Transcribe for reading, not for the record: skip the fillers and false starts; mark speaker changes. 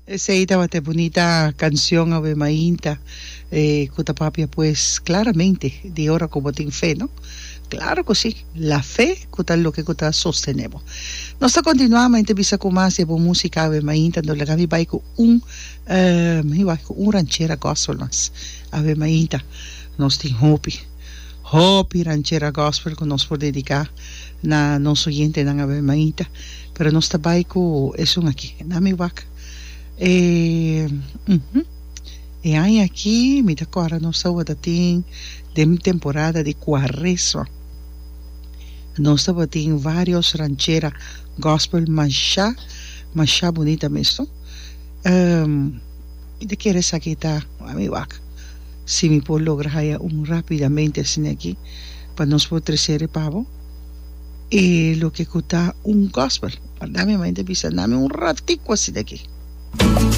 Speaker 1: Esey tabata e bunita cancion awe mainta cu ta papia pues claramente di ora cu bo tin fe, no? Claro cu si, la fe cu ta loke cu ta sostene bo. Nos ta continua mainta bisa cu mas di e bon musica awe mainta, no laga mi bay cu un, mi bay cu un ranchera gospel mas awe mainta. Nos tin hopi, hopi ranchera gospel cu nos por dedica na nos oyentenan awe mainta. Pero nos ta bai ku esun aki. Na mi wak e e aña aki mi ta kòrda nos tabata tin den temporada di kuaresma. Nos tabatin varios ranchera gospel masha masha bunita mes no. Mi ta kere esaki ta a mi wak si mi por logra haya un rapidamente asina aki pa nos por trese riba bo. E loke ku ta un gospel. Dame mi ta bisa, dame un ratico asina aki.